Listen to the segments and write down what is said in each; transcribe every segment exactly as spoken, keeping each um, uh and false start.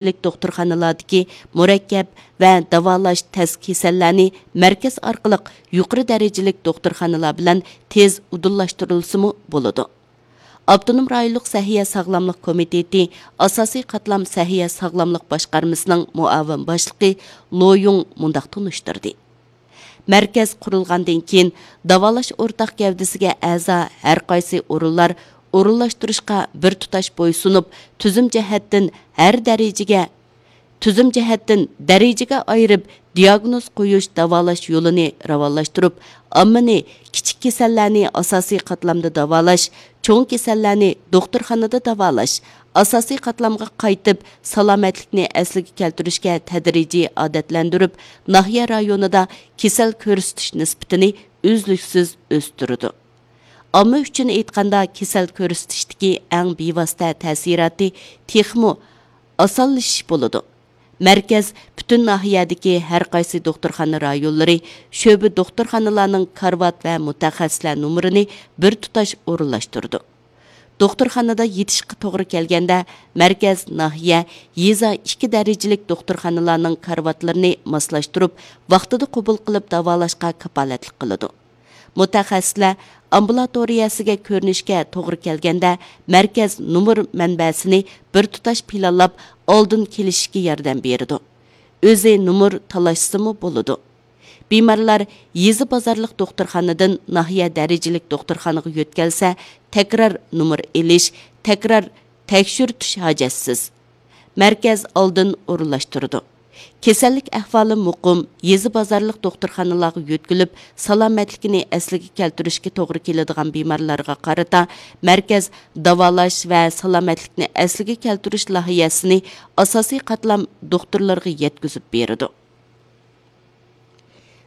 دەرىجىلىك دوختۇرخانىلاردىكى مۇرەككەپ ۋە داۋالاش تەس كېسەللەرنى مەركەز ئارقىلىق يۇقىرى دەرىجىلىك دوختۇرخانىلار بىلەن تېز ئۇدۇللاشتۇرۇلسىمۇ بولىدۇ. ئاپتونوم رايونلۇق سەھىيە ساغلاملىق كومىتېتى ئاساسىي قاتلام سەھىيە ساغلاملىق باشقارمىسىنىڭ مۇئاۋىن باشلىقى لو يۇڭ مۇنداق تونۇشتۇردى. مەركەز قۇرۇلغاندىن كېيىن، داۋالاش ئورتاق گەۋدىسىگە ئەزا ھەرقايسى ئورۇنلار ئورۇنلاشتۇرۇشقا بىر تۇتاش بويسۇنۇپ، تۈزۈم جەھەتتىن ھەر دەرىجىگە، تۈزۈم جەھەتتىن دەرىجىگە ئايرىپ، دىياگنوز قويۇش، داۋالاش يولىنى راۋانلاشتۇرۇپ، ئاممىنى كىچىك كېسەللەرنى ئاساسىي قاتلامدا داۋالاش، چوڭ كېسەللەرنى دوختۇرخانىدا داۋالاش، ئاساسىي قاتلامغا قايتىپ، سالامەتلىكنى ئەسلىگە كەلتۈرۈشكە تەدرىجىي ئادەتلەندۈرۈپ، ناھىيە رايونىدا كېسەل كۆرسىتىش نىسبىتىنى ئۈزلۈكسىز ئۆستۈرىدۇ. ئامما ئۈچۈن ئېيتقاندا، كېسەل كۆرسىتىشتىكى ئەڭ بىۋاسىتە تەسىراتى تېخىمۇ ئاسانلىشىش بولىدۇ. مەركەز پۈتۈن ناھىيەدىكى ھەر قايسى دوختۇرخانا رايونلىرى، شۆبە دوختۇرخانىلارنىڭ كارىۋات ۋە مۇتەخەسسىسلەر نومۇرىنى بىر تۇتاش ئورۇنلاشتۇرىدۇ. دوختۇرخانىدا يېتىشقا توغرا كەلگەندە، مەركەز، ناھىيە، يېزا ئىككى دەرىجىلىك دوختۇرخانىلارنىڭ كارىۋاتلىرىنى ماسلاشتۇرۇپ، ۋاقتىدا قوبۇل قىلىپ داۋالاشقا كاپالەتلىك قىلىدۇ. مۇتەخەسسىسلەر ئامبۇلاتورىيەسىگە كۆرۈنۈشكە توغرا كەلگەندە، مەركەز نومۇر مەنبەسىنى بىر تۇتاش پىلانلاپ، ئالدىن كېلىشىشكە ياردەم بېرىدۇ. ئۆزى نومۇر تالاشسىمۇ بولىدۇ. بىمارلار يېزا بازارلىق دوختۇرخانىدىن ناھىيە دەرىجىلىك دوختۇرخانىغا يۆتكەلسە، تەكرار نومۇر ئېلىش، تەكرار تەكشۈرتۈش ھاجەتسىز. مەركەز ئالدىن ئورۇنلاشتۇرىدۇ. كېسەللىك ئەھۋالى مۇقىم، يېزا بازارلىق دوختۇرخانىلارغا يۆتكىلىپ، سالامەتلىكىنى ئەسلىگە كەلتۈرۈشكە توغرا كېلىدىغان بىمارلارغا قارىتا، مەركەز داۋالاش ۋە سالامەتلىكنى ئەسلىگە كەلتۈرۈش لايىھەسىنى ئاساسىي قاتلام دوختۇرلىرىغا يەتكۈزۈپ بېرىدۇ.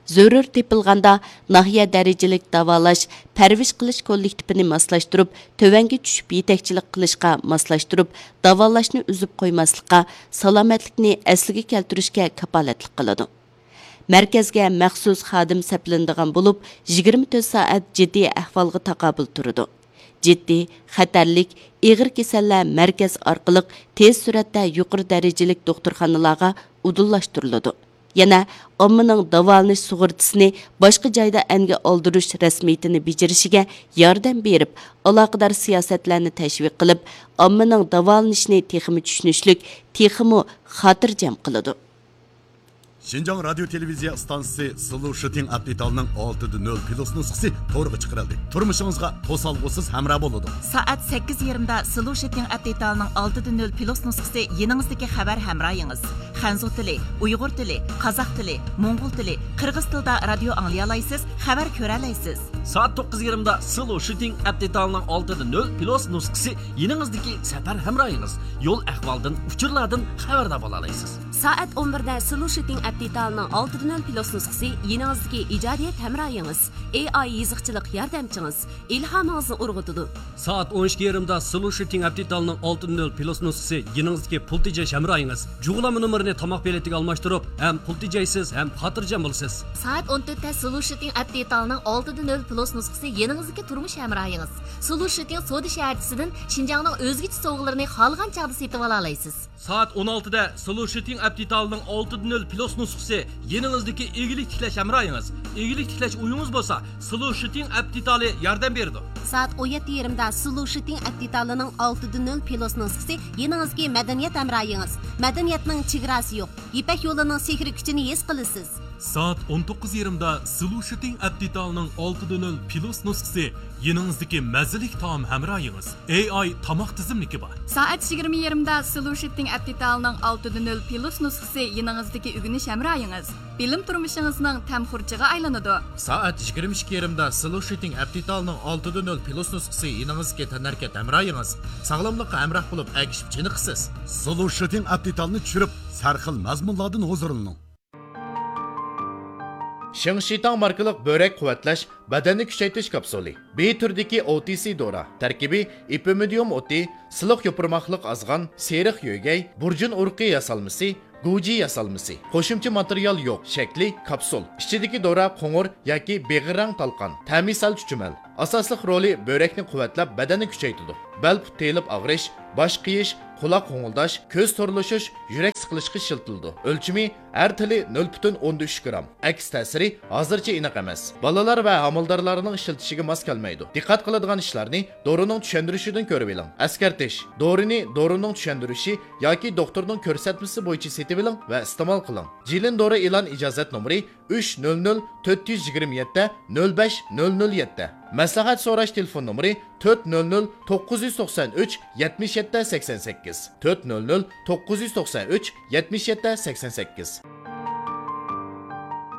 زۆرۈر تېپىلغاندا، ناھىيە دەرىجىلىك داۋالاش، پەرۋىش قىلىش كوللېكتىپىنى ماسلاشتۇرۇپ، تۆۋەنگە چۈشۈپ يېتەكچىلىك قىلىشقا ماسلاشتۇرۇپ، داۋالاشنى ئۈزۈپ قويماسلىققا، سالامەتلىكنى ئەسلىگە كەلتۈرۈشكە كاپالەتلىك قىلىدۇ. مەركەزگە مەخسۇس خادىم سەپلىنىدىغان بولۇپ، يىگىرمە تۆت سائەت جىددىي ئەھۋالغا تاقابىل تۇرىدۇ. جىددىي، خەتەرلىك، ئېغىر كېسەللەر مەركەز ئارقىلىق تېز سۈرئەتتە يۇقىرى دەرىجىلىك دوختۇرخانىلارغا ئۇدۇللاشتۇرۇلىدۇ. يەنە ئاممىنىڭ داۋالىنىش سۇغۇرتىسىنى باشقا جايدا ئەنگە ئالدۇرۇش رەسمىيىتىنى بېجىرىشىگە ياردەم بېرىپ، ئالاقىدار سىياسەتلەرنى تەشۋىق قىلىپ، ئاممىنىڭ داۋالىنىشىنى تېخىمۇ چۈشىنىشلىك، تېخىمۇ خاتىرجەم قىلىدۇ. شىنجاڭ رادىيو تېلېۋىزىيە ئىستانسىسى سلۇشىتىڭ ئەپ دېتالىنىڭ ئالتىدە نۆل پلۇس نۇسخىسى تورغا چىقىرىلدى. تۇرمۇشىڭىزغا توسالغۇسىز ھەمراھ بولىدۇ. سائەت سەككىز يېرىمدا سلۇشىتىڭ ئەپ دېتالىنىڭ ئالتىدە نۆل پلۇس نۇسخىسى يېنىڭىزدىكى خەۋەر ھەمراھىڭىز. خەنزۇ تىلى، ئۇيغۇر تىلى، قازاق تىلى، موڭغۇل تىلى، قىرغىز تىلىدا رادىيو ئاڭلىيالايسىز، خەۋەر كۆرەلەيسىز. سائەت توققۇز يېرىمدا سلۇشىتىڭ ئەپ دېتالىنىڭ ئالتىدە نۆل پلۇس نۇسخىسى يېنىڭىزدىكى سەپەر ھەمراھىڭىز. يول ئەھۋالدىن، ئۇچۇرلاردىن خەۋەردار بولالايسىز. سائەت ئون بىردە سلۇشىتىڭ ئەپ دېتالىنىڭ ئالتىدە نۆل پلۇس نۇسخىسى يېنىڭىزدىكى ئىجادىيەت ھەمراھىڭىز، ئېي ئاي يېزىقچىلىق ياردەمچىڭىز، ئىلھامىڭىزنى ئۇرغۇتىدۇ. سائەت ئون ئىككى يېرىمدا سلۇشىتىڭ ئەپ دېتالىنىڭ ئالتىدە نۆل پلۇس نۇسخىسى يېنىڭىزدىكى پۇل تېجەش ھەمراھىڭىز. جۇغلانما نومۇرىنى تاماق بېلىتىگە ئالماشتۇرۇپ، ھەم پۇل تېجەيسىز، ھەم خاتىرجەم بولىسىز. سائەت ئون تۆتتە سلۇشىتىڭ ئەپ دېتالىنىڭ ئالتىدە نۆل پلۇس نۇسخىسى يېنىڭىزدىكى تۇرمۇش ھەمراھىڭىز. سلۇشىتىڭ سودا شەھەرچىسىدىن شىنجاڭنىڭ ئۆزگىچە سوۋغىلىرىنى خالىغان چاغدا سېتىۋالالايسىز. سائەت ئون ئالتىدە سلۇشىتىڭ ئەپ دېتالىنىڭ ئالتىدە نۆل پلۇس نۇسخىسى يېنىڭىزدىكى ئىگىلىك تىكلەش ھەمراھىڭىز. ئىگىلىك تىكلەش ئويىڭىز بولسا، سلۇشىتىڭ ئەپ دېتالى ياردەم بېرىدۇ. سائەت ئون يەتتە يېرىمدا سلۇشىتىڭ ئەپ دېتالىنىڭ ئالتىدە نۆل پلۇس نۇسخىسى يېنىڭىزدىكى مەدەنىيەت ھەمراھىڭىز. مەدەنىيەتنىڭ چېگراسى يوق. يىپەك يولىنىڭ سېھرىي كۈچىنى ھېس قىلىسىز. سائەت ئون توققۇز يېرىمدا سلۇشىتىڭ ئەپ دېتالىنىڭ ئالتىدە نۆل پلۇس نۇسخىسى يېنىڭىزدىكى مەززىلىك تائام ھەمراھىڭىز. ئېي ئاي تاماق تىزىملىكى بار. سائەت يىگىرمە يېرىمدا سلۇشىتىڭ ئەپ دېتالىنىڭ ئالتىدە نۆل پلۇس نۇسخىسى يېنىڭىزدىكى ئۆگىنىش ھەمراھىڭىز. بىلىم تۇرمۇشىڭىزنىڭ تەم خۇرجىغا ئايلىنىدۇ. سائەت يىگىرمە ئىككى يېرىمدا سلۇشىتىڭ ئەپ دېتالىنىڭ ئالتىدە نۆل پلۇس نۇسخىسى يېنىڭىزدىكى تەنھەرىكەت ھەمراھىڭىز. ساغلاملىققا ھەمراھ بولۇپ، ئەگىشىپ چېنىقىسىز. سلۇشىتىڭ ئەپ دېتالنى چۈشۈرۈپ، سەرخىل مەزمۇنلاردىن ھۇزۇرلىنىڭ. شېڭشىتاڭ ماركىلىق بۆرەك قۇۋۋەتلەش، بەدەننى كۈچەيتىش كاپسۇلى. بى تۈرىدىكى ئو تى سى دورا. تەركىبى ئېپىمىدىيۇم ئوتى، سىلىق يوپۇرماقلىق ئازغان، سېرىق يۆگەي، بۇرجۇن ئۇرۇقى ياسالمىسى، گۇجى ياسالمىسى. قوشۇمچە ماتېرىيال يوق. شەكلى كاپسۇل. ئىچىدىكى دورا قوڭۇر ياكى بېغىر رەڭ تالقان. تەمى سەل چۈچۈمەل. ئاساسلىق رولى بۆرەكنى قۇۋۋەتلەپ، بەدەننى كۈچەيتىدۇ. بەل پۇت تېيىلىپ ئاغرىش، باش قېيىش، قۇلاق غوڭۇلداش، كۆز تورلىشىش، يۈرەك سىقىلىشقا ئىشلىتىلىدۇ. ئۆلچىمى: ئەر تىلى نۆل پۈتۈن ئوندىن ئۈچ گرام. ئەكس تەسىرى ھازىرچە ئېنىق ئەمەس. بالىلار ۋە ھامىلىدارلارنىڭ ئىشلىتىشىگە ماس كەلمەيدۇ. دىققەت قىلىدىغان ئىشلارنى دورىنىڭ چۈشەندۈرۈشىدىن كۆرۈۋېلىڭ. ئەسكەرتىش: دورىنى دورىنىڭ چۈشەندۈرۈشى ياكى دوختۇرنىڭ كۆرسەتمىسى بويىچە سېتىۋېلىڭ ۋە ئىستېمال قىلىڭ. جىلىن دورا ئېلان ئىجازەت نومۇرى ئۈچ نۆل نۆل تۆت يۈز يىگىرمە يەتتە نۆل بەش نۆل نۆل يەتتە. مەسلىھەت سوراش تېلېفون نومۇرى تۆت نۆل نۆل توققۇز يۈز توقسان ئۈچ يەتمىش يەتتە سەكسەن سەككىز، تۆت نۆل نۆل توققۇز يۈز توقسان ئۈچ يەتمىش يەتتە سەكسەن سەككىز.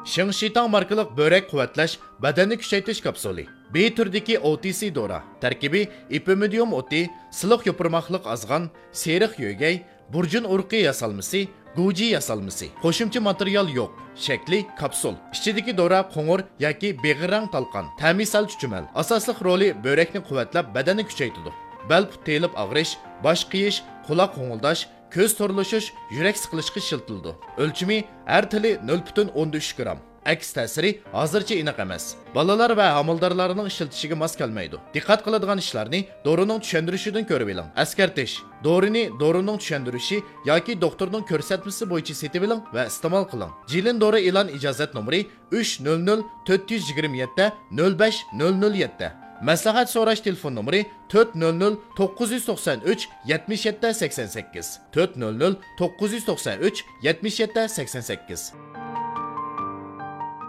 شىڭشىتاڭ ماركىلىق بۆرەك قۇۋۋەتلەش، بەدەننى كۈچەيتىش كاپسۇلى. بى تۈرىدىكى ئو تى سى دورا. تەركىبى: ئېپىمىدىيۇم ئوتى، سىلىق يوپۇرماقلىق ئازغان، سېرىق يۆگەي، بۇرجۇن ئۇرۇقى ياسالمىسى، گۇجى ياسالمىسى. قوشۇمچە ماتېرىيال يوق. شەكلى كاپسۇل. ئىچىدىكى دورا قوڭۇر ياكى بېغىر رەڭ تالقان. تەمى سەل چۈچۈمەل. ئاساسلىق رولى: بۆرەكنى قۇۋۋەتلەپ، بەدەننى كۈچەيتىدۇ. بەل پۇت تېيىلىپ ئاغرىش، باش قېيىش، قۇلاق غوڭۇلداش، كۆز تورلىشىش، يۈرەك سىقىلىشقا ئىشلىتىلىدۇ. ئۆلچىمى: ئەر تىلى نۆل پۈتۈن ئوندىن ئۈچ گرام. ئەكس تەسىرى ھازىرچە ئېنىق ئەمەس. بالىلار ۋە ھامىلىدارلارنىڭ ئىشلىتىشىگە ماس كەلمەيدۇ. دىققەت قىلىدىغان ئىشلارنى دورىنىڭ چۈشەندۈرۈشىدىن كۆرۈۋېلىڭ. ئەسكەرتىش: دورىنى دورىنىڭ چۈشەندۈرۈشى ياكى دوختۇرنىڭ كۆرسەتمىسى بويىچە سېتىۋېلىڭ ۋە ئىستېمال قىلىڭ. جىلىن دورا ئېلان ئىجازەت نومۇرى ئۈچ نۆل نۆل تۆت يۈز يىگىرمە يەتتە نۆل بەش نۆل نۆل يەتتە. مەسلىھەت سوراش تېلېفون نومۇرى تۆت نۆل نۆل توققۇز يۈز توقسان ئۈچ يەتمىش يەتتە سەكسەن سەككىز، تۆت نۆل نۆل توققۇز يۈز توقسان ئۈچ يەتمىش يەتتە سەكسەن سەككىز.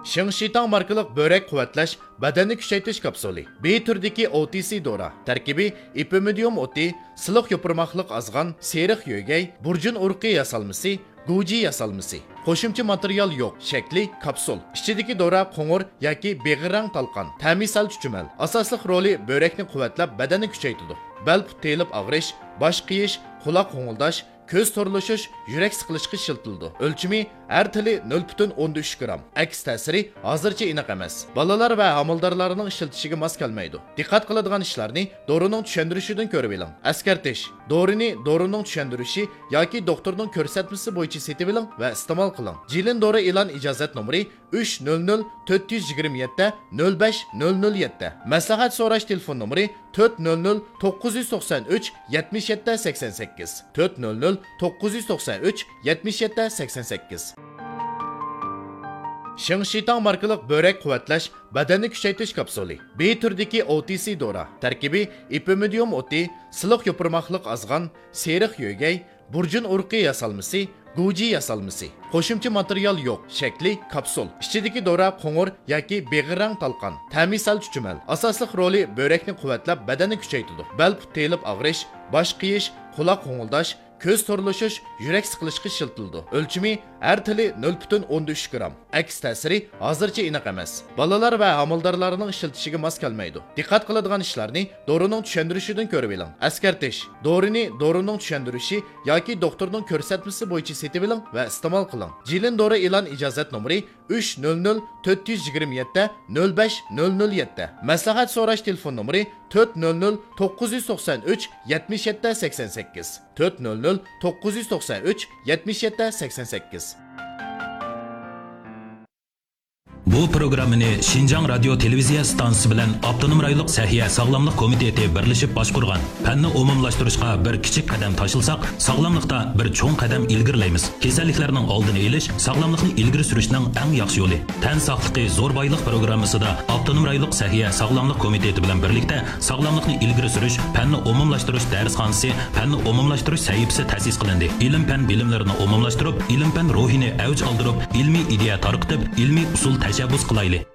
شىڭشىتاڭ ماركىلىق بۆرەك قۇۋۋەتلەش، بەدەننى كۈچەيتىش كاپسۇلى. بى تۈرىدىكى ئو تى سى دورا. تەركىبى: ئېپىمىدىيۇم ئوتى، سىلىق يوپۇرماقلىق ئازغان، سېرىق يۆگەي، بۇرجۇن ئۇرۇقى ياسالمىسى، گۇجى ياسالمىسى. قوشۇمچە ماتېرىيال يوق. شەكلى كاپسۇل. ئىچىدىكى دورا قوڭۇر ياكى بېغىر رەڭ تالقان. تەمى سەل چۈچۈمەل. ئاساسلىق رولى: بۆرەكنى قۇۋۋەتلەپ، بەدەننى كۈچەيتىدۇ. بەل پۇت تېيىلىپ ئاغرىش، باش قېيىش، قۇلاق غوڭۇلداش، كۆز تورلىشىش، يۈرەك سىقىلىشقا ئىشلىتىلىدۇ. ئۆلچىمى: ئەر تىلى نۆل پۈتۈن ئوندىن ئۈچ گرام. ئەكس تەسىرى ھازىرچە ئېنىق ئەمەس. بالىلار ۋە ھامىلىدارلارنىڭ ئىشلىتىشىگە ماس كەلمەيدۇ. دىققەت قىلىدىغان ئىشلارنى دورىنىڭ چۈشەندۈرۈشىدىن كۆرۈۋېلىڭ. ئەسكەرتىش: دورىنى دورىنىڭ چۈشەندۈرۈشى ياكى دوختۇرنىڭ كۆرسەتمىسى بويىچە سېتىۋېلىڭ ۋە ئىستېمال قىلىڭ. جىلىن دورا ئېلان ئىجازەت نومۇرى ئۈچ نۆل نۆل تۆت يۈز يىگىرمە يەتتە نۆل بەش نۆل نۆل يەتتە. مەسلىھەت سوراش تېلېفون نومۇرى تۆت نۆل نۆل توققۇز يۈز توقسان ئۈچ يەتمىش يەتتە سەكسەن سەككىز، تۆت نۆل نۆل توققۇز يۈز توقسان ئۈچ يەتمىش يەتتە سەكسەن سەككىز. شىڭشىتاڭ ماركىلىق بۆرەك قۇۋۋەتلەش، بەدەننى كۈچەيتىش كاپسۇلى. بى تۈرىدىكى ئو تى سى دورا. تەركىبى: ئېپىمىدىيۇم ئوتى، سىلىق يوپۇرماقلىق ئازغان، سېرىق يۆگەي، بۇرجۇن ئۇرۇقى ياسالمىسى، گۇجى ياسالمىسى. قوشۇمچە ماتېرىيال يوق. شەكلى كاپسۇل. ئىچىدىكى دورا قوڭۇر ياكى بېغىر رەڭ تالقان. تەمى سەل چۈچۈمەل. ئاساسلىق رولى: بۆرەكنى قۇۋۋەتلەپ، بەدەننى كۈچەيتىدۇ. بەل پۇت تېيىلىپ ئاغرىش، باش قېيىش، قۇلاق غوڭۇلداش، كۆز تورلىشىش، يۈرەك سىقىلىشقا ئىشلىتىلىدۇ. ئۆلچىمى: ئەر تىلى نۆل پۈتۈن ئوندىن ئۈچ گرام. ئەكس تەسىرى ھازىرچە ئېنىق ئەمەس. بالىلار ۋە ھامىلىدارلارنىڭ ئىشلىتىشىگە ماس كەلمەيدۇ. دىققەت قىلىدىغان ئىشلارنى دورىنىڭ چۈشەندۈرۈشىدىن كۆرۈۋېلىڭ. ئەسكەرتىش: دورىنى دورىنىڭ چۈشەندۈرۈشى ياكى دوختۇرنىڭ كۆرسەتمىسى بويىچە سېتىۋېلىڭ ۋە ئىستېمال قىلىڭ. جىلىن دورا ئېلان ئىجازەت نومۇرى ئۈچ نۆل نۆل تۆت يۈز يىگىرمە يەتتە نۆل بەش نۆل نۆل يەتتە. مەسلىھەت سوراش تېلېفون نومۇرى تۆت نۆل نۆل توققۇز يۈز توقسان ئۈچ يەتمىش يەتتە سەكسەن سەككىز، تۆت نۆل نۆل توققۇز يۈز توقسان ئۈچ يەتمىش يەتتە سەكسەن سەككىز. بۇ پروگراممىنى شىنجاڭ رادىيو تېلېۋىزىيە ئىستانسىسى بىلەن ئاپتونوم رايونلۇق سەھىيە ساغلاملىق كومىتېتى بىرلىشىپ باشقۇرغان پەننى ئومۇملاشتۇرۇشقا بىر كىچىك قەدەم تاشلىساق، ساغلاملىقتا بىر چوڭ قەدەم ئىلگىرىلەيمىز. كېسەللىكلەرنىڭ ئالدىنى ئېلىش، ساغلاملىقنى ئىلگىرى سۈرۈشنىڭ ئەڭ ياخشى يولى. تەن ساقلىقى زور بايلىق پروگراممىسىدا ئاپتونوم رايونلۇق سەھىيە ساغلاملىق كومىتېتى بىلەن بىرلىكتە ساغلاملىقنى ئىلگىرى سۈرۈش پەننى ئومۇملاشتۇرۇش دەرسخانىسى پەننى ئومۇملاشتۇرۇش سەھىپىسى تەسىس قىلىندى. ئىلىم-پەن بىلىملىرىنى ئومۇملاشتۇرۇپ، ئىلىم-پەن روھىنى ئەۋج ئالدۇرۇپ، ئىلمىي ئىدىيە تارقىتىپ، ئىلمىي ئۇسۇل تەشەببۇس قىلايلى.